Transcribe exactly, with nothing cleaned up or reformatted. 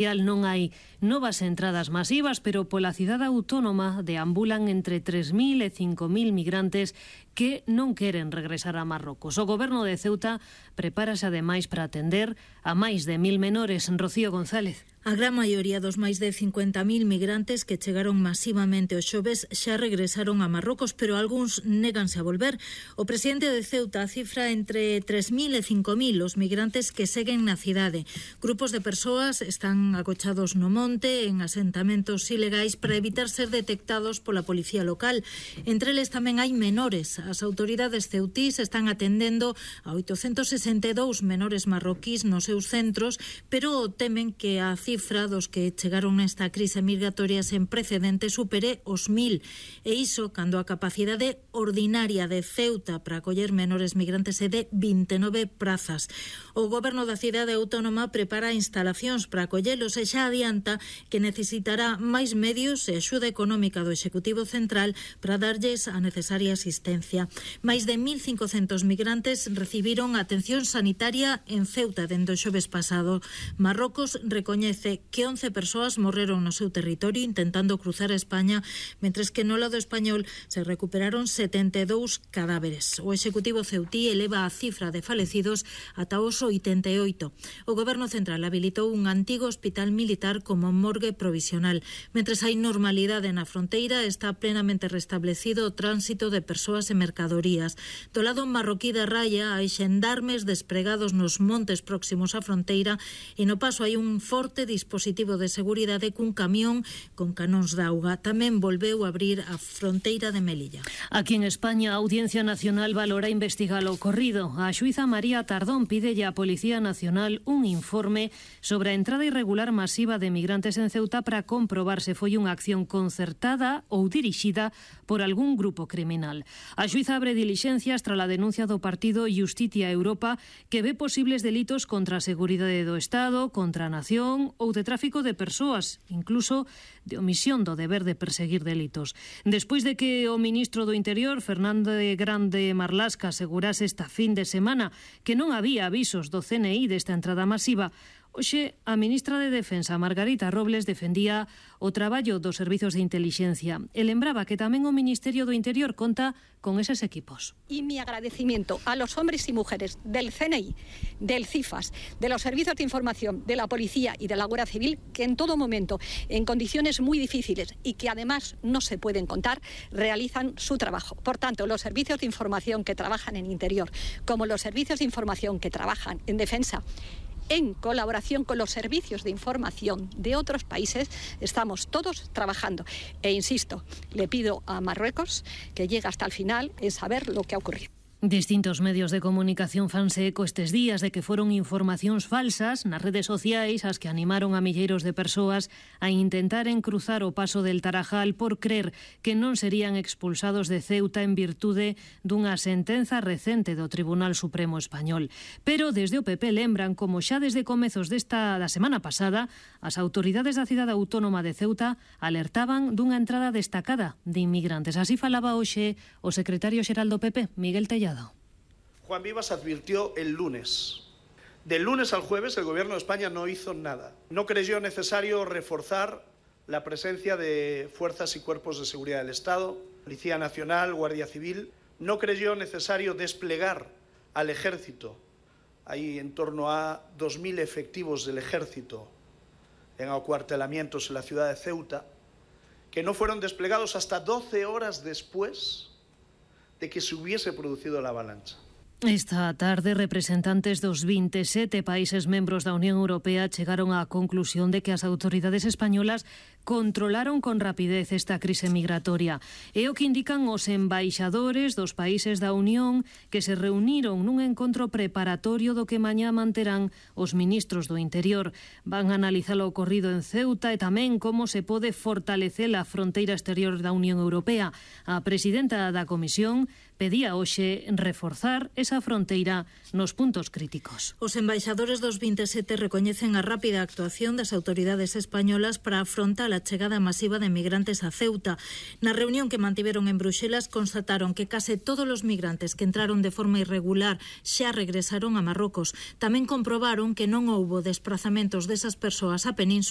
Non hai novas entradas masivas, pero pola cidade autónoma deambulan entre tres mil e cinco mil migrantes que non queren regresar a Marrocos. O goberno de Ceuta prepárase ademais para atender a máis de mil menores. Rocío González. A gran maioría dos máis de cincuenta mil migrantes que chegaron masivamente o xoves xa regresaron a Marrocos, pero algúns néganse a volver. O presidente de Ceuta cifra entre tres mil e cinco mil os migrantes que seguen na cidade. Grupos de persoas están acochados no monte, en asentamentos ilegais, para evitar ser detectados pola policía local. Entre eles tamén hai menores. As autoridades ceutís están atendendo a oitocentos sesenta e dous menores marroquís nos seus centros, pero temen que a cifra dos que chegaron nesta crise migratoria sen precedentes supere os mil. E iso cando a capacidade ordinaria de Ceuta para acoller menores migrantes é de vinte e nove prazas. O goberno da cidade autónoma prepara instalacións para acollelos e xa adianta que necesitará máis medios e axuda económica do Executivo Central para darlles a necesaria asistencia. Máis de mil cincocentos migrantes recibiron atención sanitaria en Ceuta dende o xoves pasado. Marrocos recoñece que once persoas morreron no seu territorio intentando cruzar a España, mentres que no lado español se recuperaron setenta e dous cadáveres. O Executivo ceutí eleva a cifra de falecidos ata os oitenta e oito. O Goberno Central habilitou un antigo hospital militar como morgue provisional. Mentres hai normalidade na fronteira, está plenamente restablecido o tránsito de persoas e mercadorías. Do lado marroquí da raya hai xendarmes despregados nos montes próximos á fronteira e no paso hai un forte dispositivo de seguridade cun camión con canóns de auga. Tamén volveu a abrir a fronteira de Melilla. Aquí en España, a Audiencia Nacional valora investigar o ocorrido. A xuíza María Tardón pídelle á Policía Nacional un informe sobre a entrada irregular masiva de migrantes en Ceuta para comprobar se foi unha acción concertada ou dirixida por algún grupo criminal. A xuíza abre dilixencias tras a denuncia do partido Justicia Europa, que ve posibles delitos contra a seguridade do Estado, contra a nación ou de tráfico de persoas, incluso de omisión do deber de perseguir delitos. Despois de que o ministro do Interior, Fernando Grande Marlasca, asegurase esta fin de semana que non había avisos do C N I desta entrada masiva, hoxe a ministra de Defensa, Margarita Robles, defendía o traballo dos servizos de intelixencia e lembraba que tamén o Ministerio do Interior conta con eses equipos. Y mi agradecimiento a los hombres y mujeres del C N I, del CIFAS, de los servicios de información, de la policía y de la Guardia Civil, que en todo momento, en condiciones muy difíciles y que además no se pueden contar, realizan su trabajo. Por tanto, los servicios de información que trabajan en Interior, como los servicios de información que trabajan en Defensa, en colaboración con los servicios de información de otros países, estamos todos trabajando. E insisto, le pido a Marruecos que llegue hasta el final en saber lo que ha ocurrido. Distintos medios de comunicación fanse eco estes días de que foron informacións falsas nas redes sociais as que animaron a milleiros de persoas a intentaren cruzar o paso del Tarajal por crer que non serían expulsados de Ceuta en virtude dunha sentenza recente do Tribunal Supremo Español. Pero desde o P P lembran como xa desde comezos desta da semana pasada as autoridades da cidade autónoma de Ceuta alertaban dunha entrada destacada de inmigrantes. Así falaba hoxe o secretario xeral do P P, Miguel Tellado. Juan Vivas advirtió el lunes. Del lunes al jueves el Gobierno de España no hizo nada. No creyó necesario reforzar la presencia de fuerzas y cuerpos de seguridad del Estado, Policía Nacional, Guardia Civil. No creyó necesario desplegar al Ejército. Hay en torno a dos mil efectivos del Ejército en acuartelamientos en la ciudad de Ceuta, que no fueron desplegados hasta doce horas después de que se hubiese producido la avalancha. Esta tarde, representantes dos vinte e sete países membros da Unión Europea chegaron á conclusión de que as autoridades españolas controlaron con rapidez esta crise migratoria. É o que indican os embaixadores dos países da Unión que se reuniron nun encontro preparatorio do que mañá manterán os ministros do Interior. Van a analizar o ocorrido en Ceuta e tamén como se pode fortalecer a fronteira exterior da Unión Europea. A presidenta da Comisión pedía hoxe reforzar esa fronteira nos puntos críticos. Os embaixadores dos vinte e sete recoñecen a rápida actuación das autoridades españolas para afrontar a chegada masiva de migrantes a Ceuta. Na reunión que mantiveron en Bruxelas constataron que case todos os migrantes que entraron de forma irregular xa regresaron a Marrocos. Tamén comprobaron que non houbo desprazamentos desas persoas á península